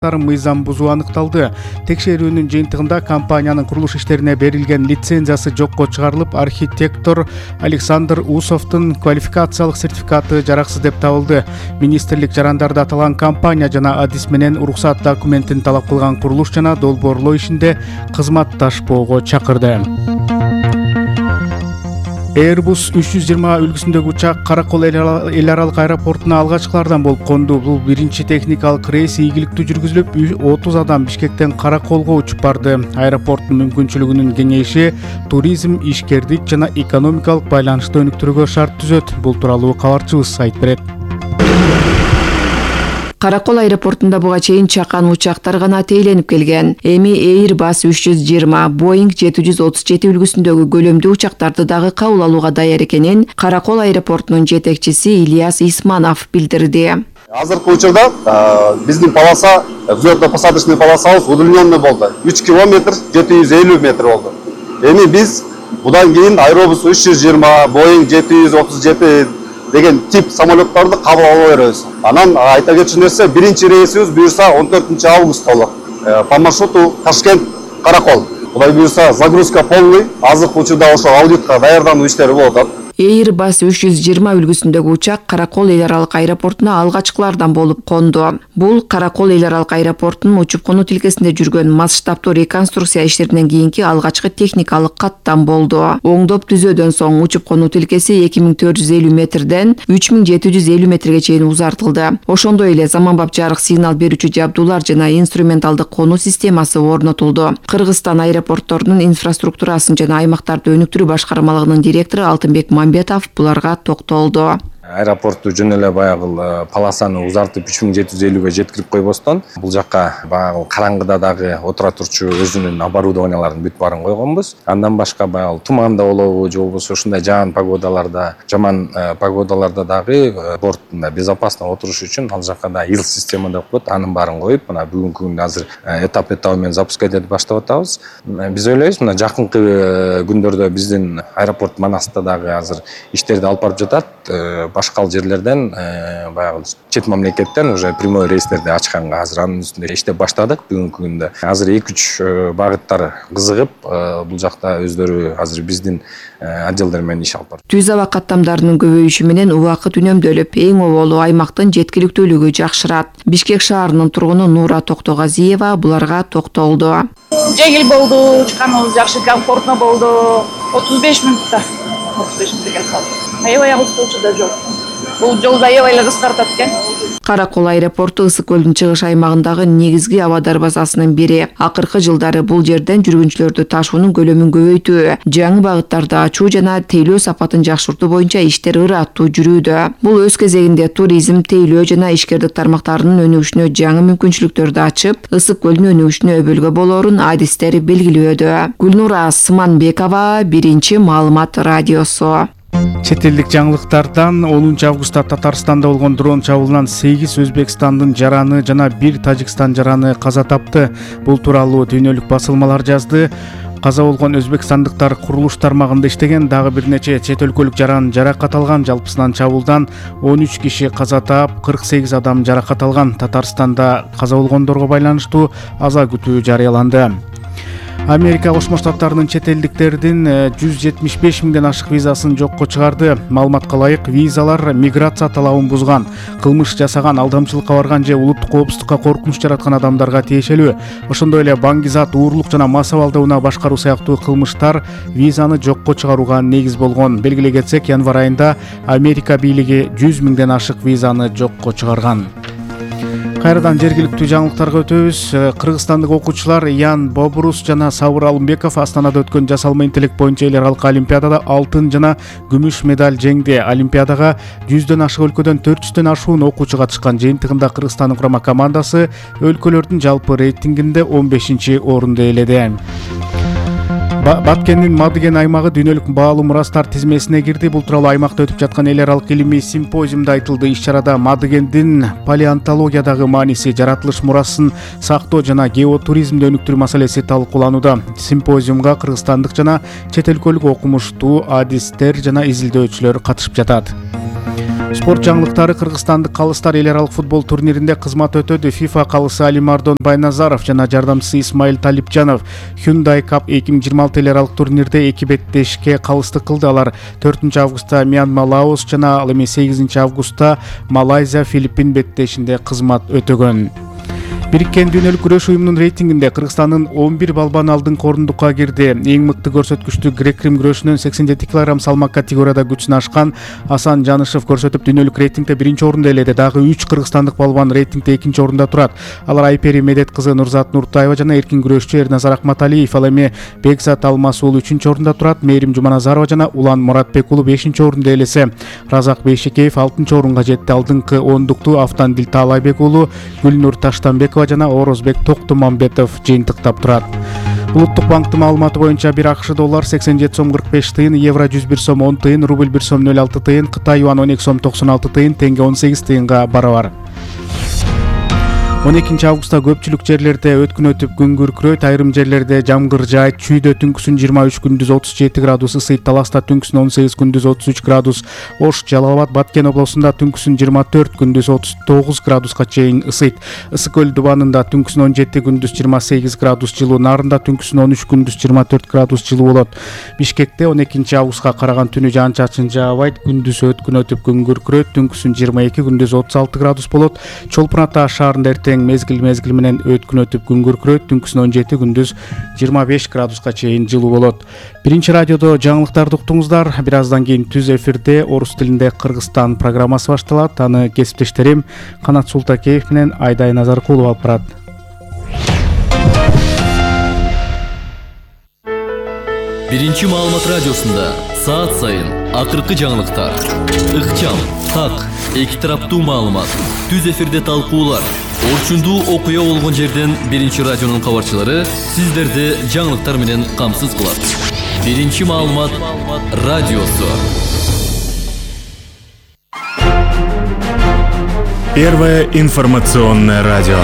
мыйзам бузуу аныкталды. Текшерүүнүн жыйынтыгында компаниянын курулуш иштерине берилген лицензиясы жокко чыгарылып, архитектор Александр Усовдун квалификациялык сертификаты жараксыз деп табылды. Министрлик жарандарда аталган компания жана адис менен уруксат документин талап кылган курулуш жана долбоорлоо ишинде кызматташпоого чакырды. Airbus 320 үлгүсүндөгү учак Каракол эл аралык аэропортуна алгачкылардан болуп конду. Бул биринчи техникалык рейс ийгиликтүү жүргүзүлүп, 30 адам Бишкектен Караколго учуп барды. Аэропорттун мүмкүнчүлүгүнүн кеңейиши туризм, ишкердик жана экономикалык байланышты өнүктүрүүгө шарт түзөт. Бул тууралуу кабарчыбыз айтып берет. Каракол аэропортунда буга чейин чакан учактар гана тейленип келген. Эми Airbus 320, Boeing 737 үлгүсүндөгү көлөмдүү учактарды дагы кабыл алууга даяр экенин Каракол аэропортунун жетекчиси Ильяс Исманов билдирди. Азыркы учурда биздин полоса, взлётно-посадочный полосабыз удлиненный болду. 3 километр 750 метр болду. Эми биз будан кийин Airbus 320, Boeing 737 деген тип самолеттарды кабыл ала беребиз. Анан айта кетчү нерсе, биринчи рейсибиз буюрса 14 августта болот. По маршруту Ташкент Каракол. Кудай буюрса загрузка полный. Азыркы учурда ошо аудитка даярдануу иштери болуп атат. Airbus 320 үлгүсүндөгү учак Каракол эл аралык аэропортуна алгачкылардан болуп конду. Бул Каракол эл аралык аэропортунун учуп конуу тилкесинде жүргөн масштабтуу реконструкция иштеринен кийинки алгачкы техникалык каттам болду. Оңдоп түзөөдөн соң учуп конуу тилкеси 2450 метрден 3750 метрге чейин узартылды. Ошондой эле заманбап жарык сигнал берүүчү жабдуулар жана инструменталдык конуу системасы орнотулду. Кыргызстан аэропортторунун инфраструктурасын жана аймактарды өнүктүрүү башкармалыгынын директору Алтынбек Мамбетов буларга токтолду. Аэропортту жөн эле баягы полосаны узартып 3750ге жеткирип койбостон, бул жакка баягы караңгыда дагы отура турчу өзүнүн оборудованияларын бүт баарын койгонбуз. Андан башка баягы туманда болобу же болбосо ушундай жаман погодаларда дагы бортунда безопасно отуруш үчүн ал жакка да ил система деп коет, анын баарын коюп, мына бүгүнкү күндө азыр этап менен запускать этип баштап атабыз. Биз ойлойбуз, мына жакынкы күндөрдө биздин аэропорт Манаста дагы азыр иштерди алып барып жатат. Башка жерлерден баягы чет мамлекеттен уже прямой рейстерди ачканга азыр анын үстүндө иштеп баштадык бүгүнкү күндө. Азыр 2-3 багыттар кызыгып, бул жакта өздөрү азыр биздин отделдер менен иш алып барат. Түз аба каттамдарынын көбөйүшү менен убакыт үнөмдөлүп, эң оболу аймактын жеткиликтүүлүгү жакшырат. Бишкек шаарынын тургуну Нура Токтогазиева буларга токтолду. Жеңил болду, учканыбыз жакшы, комфортно болду. 35 мүнөттө. 35 мүнөткө келип калдык. Аябай агылчу да жол. Бул жолду аябай эле кыскартат экен. Каракол аэропорту Ысык көлдүн чыгыш аймагындагы негизги аба дарбазасынын бири. Акыркы жылдары бул жерден жүргүнчүлөрдү ташуунун көлөмүн көбөйтүү, жаңы багыттарды ачуу жана тейлөө сапатын жакшыртуу боюнча иштер ыраттуу жүрүүдө. Бул өз кезегинде туризм, тейлөө жана ишкердик тармактарынын өнүгүшүнө жаңы мүмкүнчүлүктөрдү ачып, Ысык көлүнүн өнүгүшүнө өбөлгө болорун адистер белгилөөдө. Гүлнура Сыманбекова, Биринчи маалымат радиосу. Чет элдик жаңылыктардан 10 августта Татарстанда болгон дрон чабуулунан 8 Өзбекстандын жараны жана 1 Тажикстан жараны каза тапты. Бул тууралуу дүйнөлүк басылмалар жазды. Каза болгон өзбекстандыктар курулуш тармагында иштеген, дагы бир нече чет өлкөлүк жаран жаракат алган. Жалпысынан чабуулдан 13 киши каза таап, 48 адам жаракат алган. Татарстанда каза болгондорго байланыштуу аза күтүү жарыяланды. Америка Кошмо Штаттарынын чет элдиктердин 175 миңден ашык визасын жокко чыгарды. Маалыматка ылайык, визалар миграция талабын бузган, кылмыш жасаган, алдамчылыкка барган же улуттук коопсуздукка коркунуч жараткан адамдарга тиешелүү. Ошондой эле баңгизат, уурулук жана массалык алдауна башкаруу сыяктуу кылмыштар визаны жокко чыгарууга негиз болгон. Белгилей кетсек, январь айында Америка бийлиги 100 миңден ашык визаны жокко чыгарган. Кайрадан жергиликтүү жаңылыктарга өтөбүз. Кыргызстандык окуучулар Ян Бобрус жана Сабыр Алымбеков Астанада өткөн жасалма интеллект боюнча эл аралык олимпиадада алтын жана күмүш медаль жеңди. Олимпиадага 100дөн ашык өлкөдөн 400дөн ашуун окуучу катышкан. Жыйынтыгында Кыргызстандын курама командасы өлкөлөрдүн жалпы рейтингинде 15-орунду ээледи. Баткендин Мадыген аймагы дүйнөлүк баалуу мурастар тизмесине кирди. Бул тууралуу аймакта өтүп жаткан эл аралык илимий симпозиумда айтылды. Иш-чарада Мадыгендин палеонтологиядагы мааниси, жаратылыш мурасын сактоо жана геотуризмди өнүктүрүү маселеси талкууланууда. Симпозиумга кыргызстандык жана чет өлкөлүк окумуштуу адистер жана изилдөөчүлөр катышып жатат. Спорт жаңылыктары. Кыргызстандык калыстар эл аралык футбол турниринде кызмат өтөдү. FIFA калысы Алимардон Байназаров жана жардамчысы Исмаил Талипжанов Hyundai Cup 2026 эл аралык турнирде эки беттешке калыстык кылды. Алар 4-августта Мьянма, Лаос жана ал эми 8-августта Малайзия, Филиппин беттешинде кызмат өтөгөн. Бириккен дүйнөлүк күрөш уюмунун рейтингинде Кыргызстандын 11 балбан алдыңкы орундукка кирди. Эң мыкты көрсөткүчтү грек-рим күрөшүнөн 87 кг салмак категорияда күчүн ашкан Асан Жанышев көрсөтүп дүйнөлүк рейтингде 1-орунду ээледи. Дагы 3 кыргызстандык балбан рейтингде 2-орунда турат. Алар Айпери Медет кызы Нурзат Нуртаева жана эркин күрөшчү Эрназар Акматалиев. Ал эми Бекзат Алмаз уулу 3-орунда турат. Мээрим Жуманазарова жана Улан Муратбек уулу 5-орунду ээлесе. Разак Бейшекеев 6-орунга жетти. Алдыңкы ондукту Автандил Таалайбек уулу, Гүлнур Таштанбекова жана Орозбек Токтумамбетов жыйынтыктап турат. Улуттук банктын маалыматы боюнча 1 АКШ доллар 87 сом 45 тыйын, евро 101 сом 10 тыйын, рубль 1 сом 06 тыйын, Кытай юан 12 сом 96 тыйын, теңге 18 тыйынга барабар. 12-августта көпчүлүк жерлерде өткүн өтүп күн күркүрөйт, айрым жерлерде жамгыр жаайт. Чүйдө түнкүсүн 23, күндүз 37 градус ысыйт. Таласта түнкүсүн 18, күндүз 33 градус. Ош, Жалал Абад, Баткен облусунда түнкүсүн 24, күндүз 39 градуска чейин ысыйт. Ысык көл Дубанында түнкүсүн 17, күндүз 28 градус жылуу. Нарында түнкүсүн 13, күндүз 24 градус жылуу болот. Бишкекте 12-августка караган түнү жаан-чачын жаабайт, күндүз өткүн өтүп күн күркүрөйт, түнкүсүн 22, күндүз 36 градус болот. Чолпон Ата шаарында мезгил менен өткүн өтүп күн күркүрөйт, түнкүсүн 17, күндүз 25 градуска чейин жылуу болот. Биринчи радиодо жаңылыктарды уктуңуздар. Бир аздан кийин түз эфирде орус тилинде Кыргызстан программасы башталат. Аны кесиптештерим Канат Султакеев менен Айдай Назаркулов алып барат. Биринчи маалымат радиосунда саат сайын акыркы жаңылыктар, ыкчам, так, эки тараптуу маалымат, түз эфирде талкуулар, орчундуу окуя болгон жерден биринчи радионун кабарчылары сиздерди жаңылыктар менен камсыз кылат. Биринчи маалымат радиосу. Первое информационное радио.